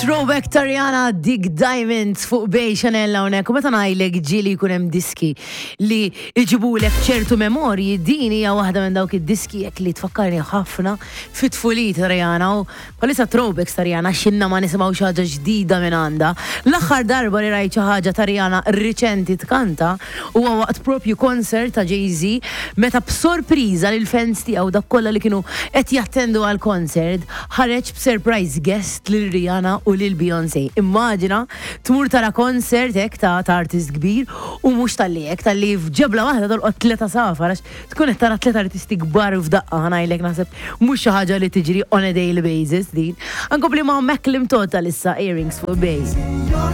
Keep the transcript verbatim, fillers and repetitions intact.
Throwback ta' Rihanna, dik Diamonds fuq Bay Chanel hawnhekk. U meta ngħidlek ġieli jkun hemm diski li jġibulek ċertu memorji, din hija waħda minn dawk id-diski jekk li tfakkarni ħafna fit-tfulija ta' Rihanna u bħalissa throwbacks ta' Rihanna xinna ma nisimgħu xi ħaġa ġdida minn għandha. L-aħħar darba li rajt xi ħaġa ta' Rihanna riċenti tkanta huwa waqt propju concert ta' Jay-Z, meta b'sorpriża lil fans tiegħu, dak kollha li kienu qed jattendu għal concert, ħareġ b'surprise guest lil Rihanna u lil Beyoncé. Immaġina tmur tara concert hekk ta' ta' artist kbir u mhux talli hekk, talli f'ġebla waħda tolqot tliet għasafar, għax tkun qed tara tliet artisti kbar f'daqqa. Ħa ngħidlek, naħseb mhux xi ħaġa li tiġri on a daily basis din. Ankompli ma' Macklin Total issa, Earrings fuq Bay.